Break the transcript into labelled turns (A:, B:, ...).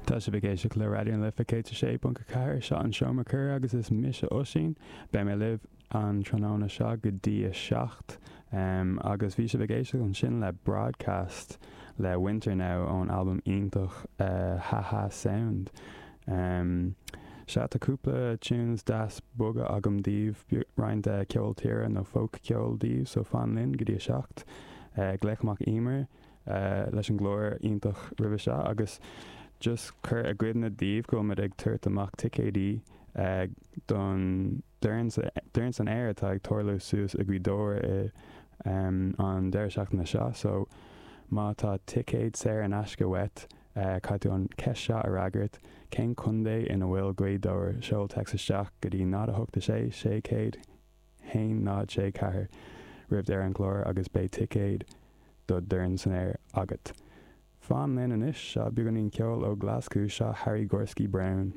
A: Tá sibh ag éisteacht le Raidió na Life 106.4, seo an Seomra Comhrá agus is mise Oisín. Beidh mé libh an tráthnóna seo go dtí a 7 agus bhí sibh ag éisteacht ansin le Broadcast le Winter Now ón albam iontach Ha Ha Sound. Sea, tá cúpla tunes deas boga agam daoibh, roinnt ceol tíre nó folk ceol daoibh, so fan linn go dtí a 7. Glaoch amach Emer leis an gclár iontach roimhe seo agus just cur i gcuimhne daoibh go bhfuil muid ag tabhairt amach ticéidí don Dorn san Aer atá ag tarlú suas i Gaoth Dobhair i an deireadh seachtaine seo so má tá ticéad saor in aisce uait caithfidh tú an ceist seo a fhreagairt, cén contae ina bhfuil Gaoth Dobhair? Seol téacs isteach go dtí 0 8 6 600 1 0 6 4 roimh deireadh an chláir agus beidh ticéad do Dorn san Aer agat. Fan linn anois, seo beagáinín ceoil ó Ghlaschú, seo Harry Gorsky Brown.